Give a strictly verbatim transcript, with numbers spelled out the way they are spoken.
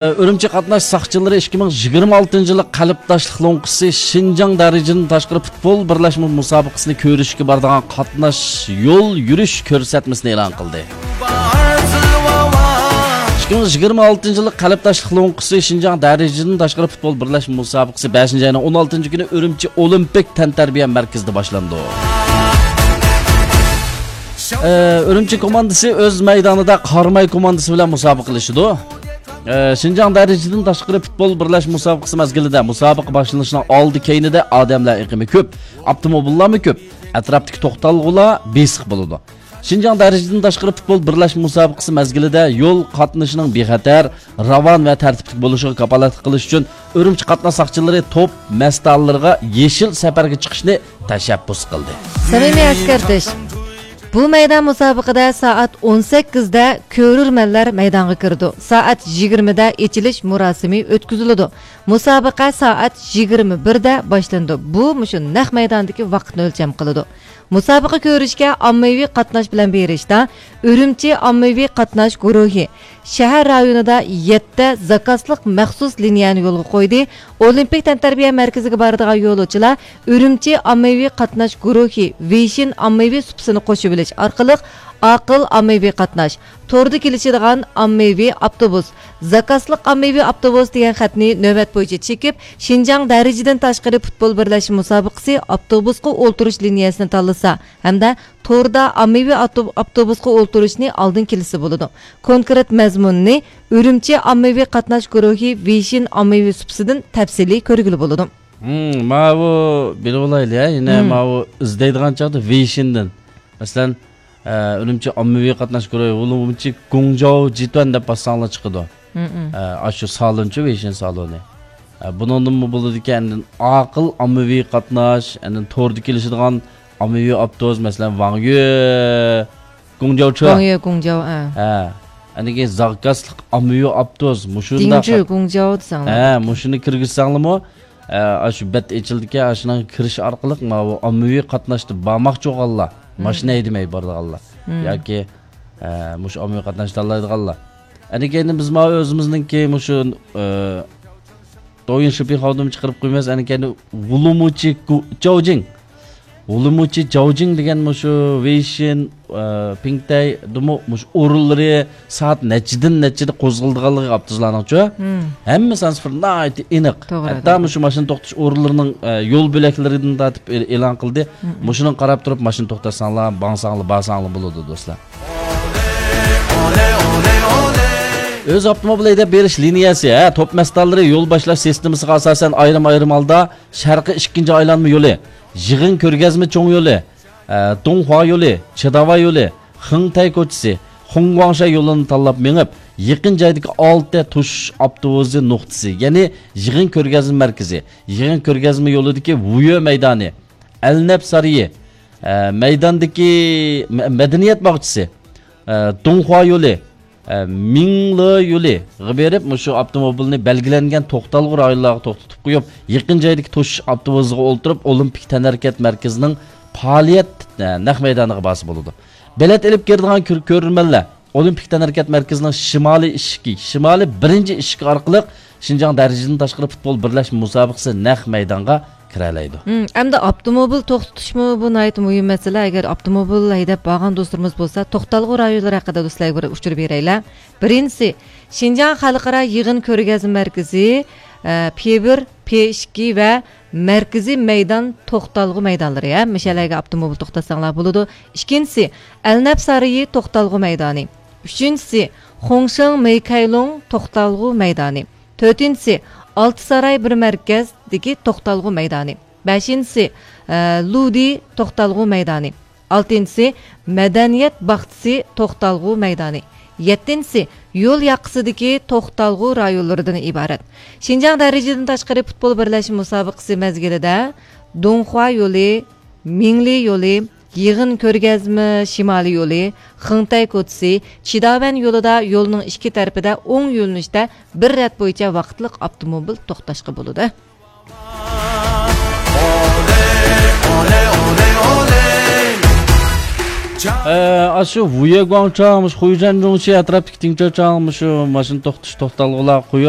ئۈرۈمچى قاتناش ساقچىلىرى ئىككى مىڭ يىگىرمە ئالتىنچى يىللىق قەلبداشلىق لوڭقىسى شىنجاڭ دەرىجىدىن تاشقىرى پۇتبول بىرلەشمە مۇسابىقىسىنى كۆرۈشكە بارىدىغان قاتناش يول يۈرۈش كۆرسەتمىسىنى ئېلان قىلدى. ئىككى مىڭ يىگىرمە ئالتىنچى يىللىق قەلبداشلىق لوڭقىسى شىنجاڭ دەرىجىدىن تاشقىرى پۇتبول بىرلەشمە مۇسابىقىسى بەشىنچى ئاينىڭ ئون ئالتىنچى كۈنى ئۈرۈمچى ئولىمپىك تەنتەربىيە مەركىزىدە باشلىنىدۇ. ئە، ئۈرۈمچى كوماندىسى ئۆز مەيدانىدا قاراماي كوماندىسى بىلەن مۇسابىقىلىشىدۇ. ئە، شىنجاڭ دەرىجىدىن تاشقىرى پۇتبول بىرلەشمە مۇسابىقىسى مەزگىلىدە مۇسابىقە باشلىنىشىنىڭ ئالدى كەينىدە ئادەملەر ئېقىمى كۆپ، ئاپتوموبىللارمۇ كۆپ، ئەتراپتىكى توختالغۇلار بېسىق بولىدۇ. شىنجاڭ دەرىجىدىن تاشقىرى پۇتبول بىرلەشمە مۇسابىقىسى مەزگىلىدە يول قاتنىشىنىڭ بىخەتەر، راۋان ۋە تەرتىپلىك بولۇشىغا كاپالەتلىك قىلىش ئۈچۈن ئۈرۈمچى قاتناش ساقچىلىرى توپ مەستانىلىرىغا يېشىل سەپەرگە چىقىشنى تەشەببۇس قىلدى. سەمىمىي ئەسكەرتىش. بۇ مەيدان مۇسابىقىدە سائەت ئون سەككىزدە كۆرۈرمەنلەر مەيدانغا كىرىدۇ. سائەت يىگىرمىدە ئېچىلىش مۇراسىمى ئۆتكۈزۈلىدۇ. مۇسابىقە سائەت يىگىرمە بىردە باشلىنىدۇ. بۇ مۇشۇ نەق مەيداندىكى ۋاقىتنى ئۆلچەم قىلىدۇ. مۇسابىقە كۆرۈشكە ئاممىۋى قاتناش بىلەن بېرىشتا ئۈرۈمچى ئاممىۋى قاتناش گۇرۇھى شەھەر رايونىدا يەتتە زاكازلىق مەخسۇس لىنىيەنى يولغا قويدى. ئولىمپىك تەنتەربىيە مەركىزىگە بارىدىغان يولۇچىلار ئۈرۈمچى ئاممىۋى قاتناش گۇرۇھى ۋېيشىن ئاممىۋى سۇپىسىنى قوشۇۋېلىش ئارقىلىق ئاقىل ئاممىۋى قاتناش، توردا كېلىشىدىغان ئاممىۋى ئاپتوبۇس، زاكازلىق ئاممىۋى ئاپتوبۇس دېگەن خەتنى نۆۋەت بويىچە چېكىپ، شىنجاڭ دەرىجىدىن تاشقىرى پۇتبول بىرلەشمە مۇسابىقىسى ئاپتوبۇسقا ئولتۇرۇش لىنىيەسىنى تاللىسا ھەمدە توردا ئاممىۋى ئاپتو-، ئاپتوبۇسقا ئولتۇرۇشنى ئالدىن كېلىشسە بولىدۇ. كونكرېت مەزمۇنىنى ئۈرۈمچى ئاممىۋى قاتناش گۇرۇھى ۋېيشىن ئاممىۋى سۇپىسىدىن تەپسىلىي كۆرگىلى بولىدۇ. ھىم، ماۋۇ بىلىۋالايلى، ھە، يەنە ھىم. ماۋۇ ئىزدەيدىغان چاغدا ۋېيشىندىن، مەسىلەن، ئە، ئۈرۈمچى ئاممىۋى قاتناش گۇرۇھى، ئۇلۇمچى گۇڭجاۋ جىتۈەن دەپ باسساڭلار چىقىدۇ. ھىم، ھىم. ئە، ئاشۇ سالونچۇ، ۋېيشىن سالونى. ئە، بۇنىڭدىنمۇ بولىدىكەن، ئاندىن ئاقىل ئاممىۋى قاتناش، ئاندىن توردا كېلىشىدىغان ئاممىۋى ئاپتوبۇس، مەسىلەن، ۋاڭيۈ، گۇڭجاۋچۇ. ۋاڭيۈ، گۇڭجاۋ، ئە. ھە. ئاندىن كېيىن زاكازلىق ئاممىۋى ئاپتوبۇس، مۇشۇنداق. دىڭجۈ، گۇڭجاۋ دېسەڭلار. ھە، مۇشۇنى كىرگۈزسەڭلىمۇ، ئە، ئاشۇ بەت ئېچىلدىكەن، ئاشۇنىڭغا كىرىش ئارقىلىق ماۋۇ ئاممىۋى قاتناشتا بارماقچى بولغانلار، مم. ماشىنا ھەيدىمەي بارىدىغانلار مم. ياكى، ئە، مۇشۇ ئاممىۋى قاتناش تاللايدىغانلار. ئەنە كەينى بىز ماۋۇ ئۆزىمىزنىڭكى مۇشۇ، ئە، دويىن شىپىڭ خاۋدىمۇ چىقىرىپ قويمايمىز. ئەنە كەينى ۋۇلۇمۇچى گۇ-، جاۋجىڭ. ۋۇلۇمۇچى جاۋجىڭ دېگەن مۇشۇ ۋېيشىن، ئە، پىڭتەيدىمۇ مۇشۇ ئورۇنلىرى سائەت نەچچىدىن نەچچىدە قوزغىلىدىغانلىقى ئاپتوبۇسلارنىڭچۇ. مم. ھەممە سانسىفىر ناھايىتى ئېنىق. توغرا، ھەتتا توغرا. مۇشۇ ماشىنا توختىتىش ئورۇنلىرىنىڭ، ئە، يول بۆلەكلىرىدىن تارتىپ ئې-، ئېلان قىلدى. مم. مۇشۇنىڭغا قاراپ تۇرۇپ ماشىنا توختاتساڭلار، ماڭساڭلار، بارساڭلار بولىدۇ، دوستلار. ئۆز ئاپتوموبىل ھەيدەپ بېرىش لىنىيەسى، ھە، توپ مەستانلىرى يول باشلاش سىستېمىسىغا ئاساسەن ئايرىم-ئايرىم ھالدا شەرقىي ئىككىنچى ئايلانما يولى، يىغىن كۆرگەزمە چوڭ يولى، ئە، دۇڭخۇا يولى، چىداۋا يولى، خېڭتەي كوچىسى، خۇڭگۇاڭشەي يولىنى تاللاپ مېڭىپ، يېقىن جايدىكى ئالتە توشۇش ئاپتوبۇسى نۇقتىسى، يەنى يىغىن كۆرگەزمە مەركىزى، يىغىن كۆرگەزمە يولىدىكى ۋۇيۈ مەيدانى، ئەلنەپ سارىيى، ئە، مەيداندىكى مە-، مەدەنىيەت باغچىسى، ئە، دۇڭخۇا يولى، ئە، مىڭلې يولىغا بېرىپ، مۇشۇ ئاپتوموبىلنى بەلگىلەنگەن توختالغۇ رايونلارغا توختىتىپ قويۇپ، يېقىن جايدىكى توشۇش ئاپتوبۇسىغا ئولتۇرۇپ، ئولىمپىك تەنھەرىكەت مەركىزىنىڭ پائالىيەت، ئە، نەق مەيدانىغا بارسا بولىدۇ. بېلەت ئېلىپ كىرىدىغان كۆر-، كۆرۈرمەنلەر ئولىمپىك تەنھەرىكەت مەركىزىنىڭ شىمالىي ئىشىكى، شىمالىي بىرىنچى ئىشىكى ئارقىلىق شىنجاڭ دەرىجىدىن تاشقىرى پۇتبول بىرلەشمە مۇسابىقىسى نەق مەيدانغا كىرەلەيدۇ. مم، ئەمدى ئاپتوموبىل توختىتىشمۇ بۇ ناھايىتى مۇھىم مەسىلە. ئەگەر ئاپتوموبىل ھەيدەپ بارغان دوستلىرىمىز بولسا، توختالغۇ رايونلىرى ھەققىدە دوستلارغا بىر ئۇچۇر بېرەيلى. بىرىنچىسى، شىنجاڭ خەلقئارا يىغىن كۆرگەزمە مەركىزى، ئە، پې بىر، پې ئىككى ۋە مەركىزىي مەيدان توختالغۇ مەيدانلىرى، ھە، مۇشۇ يەرلەرگە ئاپتوموبىل توختاتساڭلار بولىدۇ. ئىككىنچىسى، ئەلنەپ سارىيى توختالغۇ مەيدانى. ئۈچىنچىسى، خۇڭشېڭ مېيكەيلۇڭ توختالغۇ مەيدانى. تۆتىنچىسى، ئالتە ساراي بىر مەركەزدىكى توختالغۇ مەيدانى. بەشىنچىسى، ئە، لۇدى توختالغۇ مەيدانى. ئالتىنچىسى، مەدەنىيەت باغچىسى توختالغۇ مەيدانى. يەتتىنچىسى، يول ياقىسىدىكى توختالغۇ رايونلىرىدىن ئىبارەت. شىنجاڭ دەرىجىدىن تاشقىرى پۇتبول بىرلەشمە مۇسابىقىسى مەزگىلىدە دۇڭخۇا يولى، مىڭلى يولى، يىغىن كۆرگەزمە شىمالىي يولى، خېڭتەي كوچىسى، چىداۋەن يولىدا يولنىڭ ئىككى تەرىپىدە ئوڭ يۆنىلىشتە بىر رەت بويىچە ۋاقىتلىق ئاپتوموبىل توختاشقا بولىدۇ. ئە، ئاشۇ ۋۇيېگۇاڭچاڭ، مۇشۇ خۇيجەنجۇڭچى ئەتراپتىكى تىڭچاچاڭ، مۇشۇ ماشىنا توختىتىش توختالغۇلار قويۇپ،